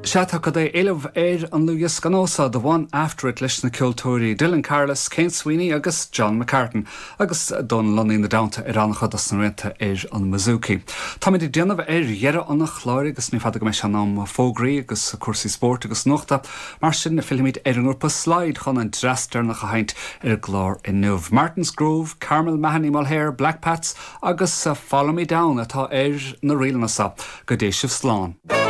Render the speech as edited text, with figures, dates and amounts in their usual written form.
Sea, tá cad é éileamh ar an ndlúthdhiosca nua seo, The One After It, leis na ceoltóirí Dylan Carless, Kane Sweeney agus John McCartan, agus Dónal Lunny ina dteannta ar an-chuid dos na rianta ar an mbouzouki. Táimid ag déanamh ar dheireadh an chláir agus ní fada go mbeidh sé in am fógraí agus cúrsaí spóirt agus nuachta. Mar sin, fillfimid ar an ngrúpa Slide chun an dreas deireanach a sheinnt ar an gclár inniu. Martin's Grove, Carmel Mahony Mulhare, Black Pats agus Follow Me Down atá ar na ríleanna seo. Go dté sibh slán.